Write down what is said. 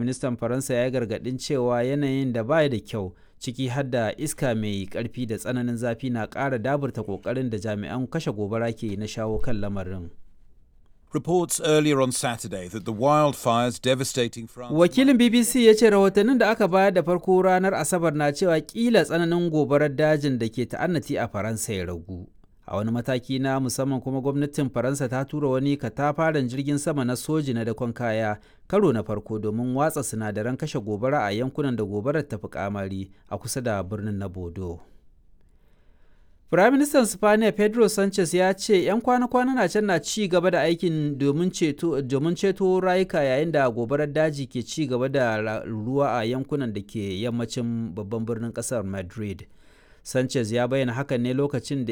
Ministan Faransa ya yi gargaɗin cewa yanayin da ba da kyau, ciki har da iska mai ƙarfi da tsananin zafi, na ƙara daburta ƙoƙarin da jami'an kashe gobara ke yi na shawo kan lamarin. Reports earlier on Saturday that the wildfires devastating France. Wakilin BBC ya ce rahotannin da aka bayar da farko ranar Asabar na cewa kila tsananin gobarar dajin da ke ta'annati a Faransa ya ragu. A wani mataki na musamman kuma, gwamnatin Faransa ta tura wani katafaren jirgin sama na soji na dakon kaya karo na farko domin watsa sinadaran kashe gobara a yankunan da gobarar ta fi kamari a kusa da birnin na Bodo. Firaministan Sipaniya Pedro Sanchez ya ce 'yan kwana-kwana na can na ci gaba da aikin domin ceto rayuka yayin da gobarar daji ke ci gaba da ruwa a yankunan da ke yammacin babban birnin kasar Madrid. Sanchez ya bayyana hakan ne lokacin da